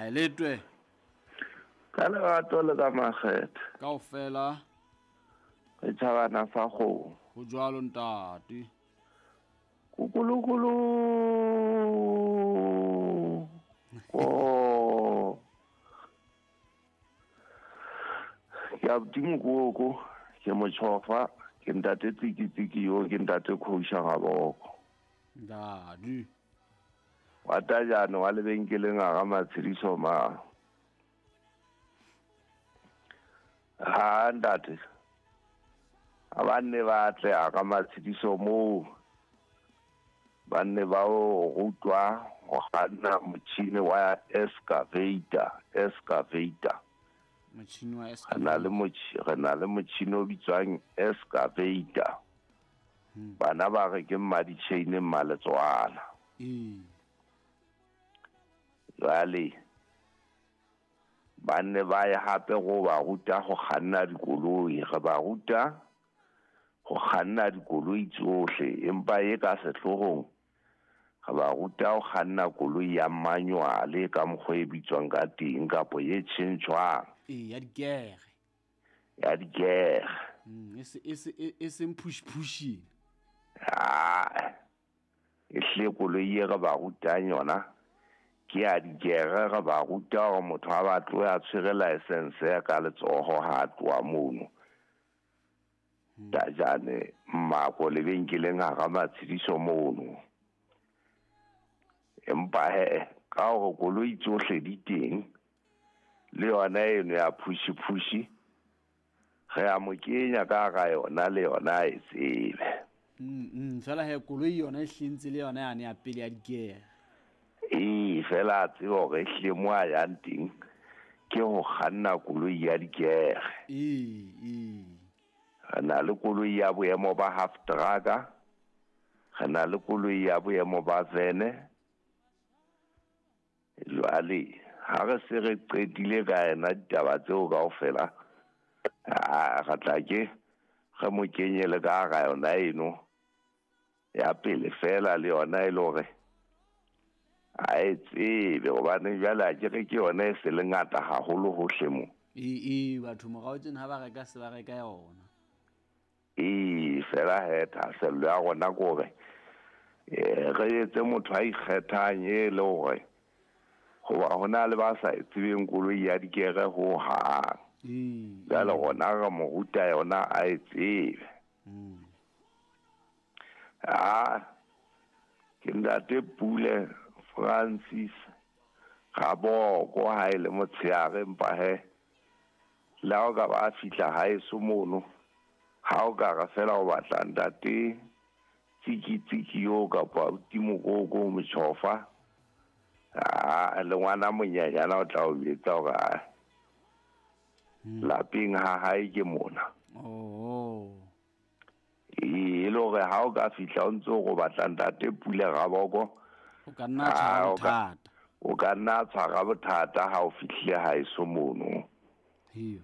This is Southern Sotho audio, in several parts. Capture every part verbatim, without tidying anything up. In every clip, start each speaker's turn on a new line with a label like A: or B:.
A: Aletwe.
B: Ka lerato le ka makgethe.
A: Kaofela.
B: Re tjhabana sa kgomo.
A: Ho jwalo ntate.
B: Kukulukulu. Ko. Ke abuti Mokoko, ke motjhofa, ke ntate Tsikitsiki yo, ke ntate Khousha Gaboko.
A: Ntate.
B: Wa tajane wa lebenkeleng a ga Matshediso ma. Ha ntate. A ba nne ba tle a ga Matshediso moo. Ba nne ba o rutwa go kganna motšhini wa excavator, excavator.
A: Motšhini wa
B: Re na le motšhi, re na le motšhini o bitswang excavator.
A: Hmm.
B: Bana ba re ke mmaditšheine mmaletswana.
A: Ee.
B: Jwale ba nne ba ye hape go ba ruta go kganna dikoloi, re ba ruta go kganna dikoloi tsohle, empa e ka sehloohong re ba ruta go kganna koloi ya manual ka mokgwa e bitswang ka teng kapo e tjhentjhwang.
A: Ee, ya dikere.
B: Ya dikere.
A: Mm, e se, e se, e, e seng push pushing.
B: Ah, e hle koloi e re ba rutang yona ke ya dikere, re ba ruta hore motho ha ba tloha a tshwere license ya ka letsoho ha a tloha mono.
A: Hmm.
B: Tajane mmako lebenkeleng hara Matshediso mono. Empa he, ka hore koloi tsohle di teng, le yona eno ya pushi-pushi, re a mo kenya ka hara yona le yona a e tsebe.
A: Mm, mm, fela he koloi yona e hlentse le yona yane ya pele ya dikere.
B: Ee, fela a tsebe hore ehlile mo a yang teng ke ho kganna koloi ya dikere.
A: Ee, ee.
B: Re na le koloi ya boemo ba half truck-a, re na le koloi ya boemo ba vene. Jwale ha re se re qetile ka yena ditaba tseo kaofela, a re tla ke re mo kenye le ka hara yona eno ya pele fela, le yona e le hore a e tsebe, hobane jwale ha ke re ke yona e se le ngata haholo hohle mo.
A: Ee, ee, batho morao tjena ha ba reka se ba reka yona.
B: Ee, fela he thahasello ya rona ke hore, eh, re etse motho a ikgethang e le hore hoba ho na le ba sa e tsebeng koloi ya dikere hohang.
A: Ee,
B: Jwale
A: ee.
B: rona re mo ruta yona a e tsebe.
A: Mm.
B: Ah, ke ntate Pule Francis Raboko ha e le motshehare, empa he le ha o ka ba fihla haeso mono, ha o ka re fela o batla ntate Tsikitsiki yo kapa abuti Mokoko motjhofa, ah, le ngwana monyenyana o tla o jwetsa hore, ah,
A: Hmm.
B: lapeng ha hae ke mona.
A: Oh.
B: Ee, e le hore ha o ka fihla o ntso o batla ntate Pule Raboko,
A: O ka nna tshwara
B: Ah, o ka
A: bothata.
B: o ka nna tshwara bothata ha o fihlile haeso mono.
A: Hee.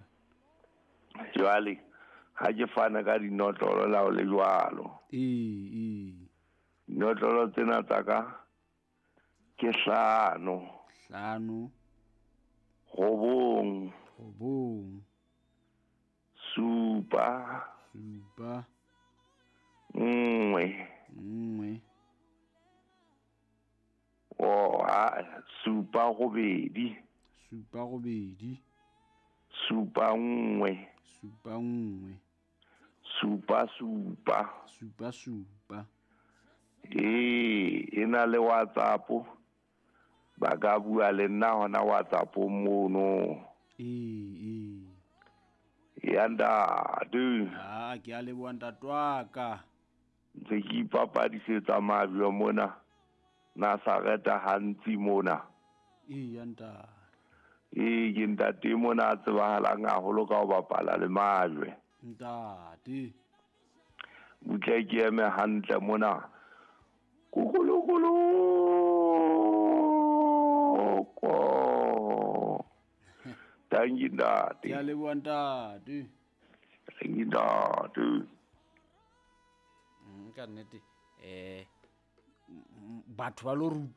B: Jwale ha ke fana ka dinotlolo la ho le jwalo.
A: Ee, ee.
B: Dinotlolo tsena tsa ka ke hlano.
A: Hlano.
B: Robong.
A: Robong.
B: Supa.
A: Supa.
B: Nngwe.
A: Nngwe.
B: Oh, ah, supa robedi.
A: Supa robedi.
B: Supa nngwe.
A: Supa nngwe.
B: Supa supa.
A: Supa supa.
B: Ee, e na le WhatsApp. Ba ka bua le nna hona WhatsApp mono.
A: Ee, ee.
B: Ya ntate.
A: Ah, ke a leboha ntate wa ka.
B: Ntse ke ipapadisetsa majwe mona. Nazareta hantsi mona.
A: Ee, ya ntate.
B: Ee, ke ntate mona a tsebahalang haholo ka ho bapala le majwe.
A: Ntate.
B: Butle ke eme hantle mona. Kukulukulu. Ko. Thank you, ntate.
A: Ke a leboha ntate.
B: Thank you, ntate.
A: Mm, ka nnete, eh, batho ba lo rutwa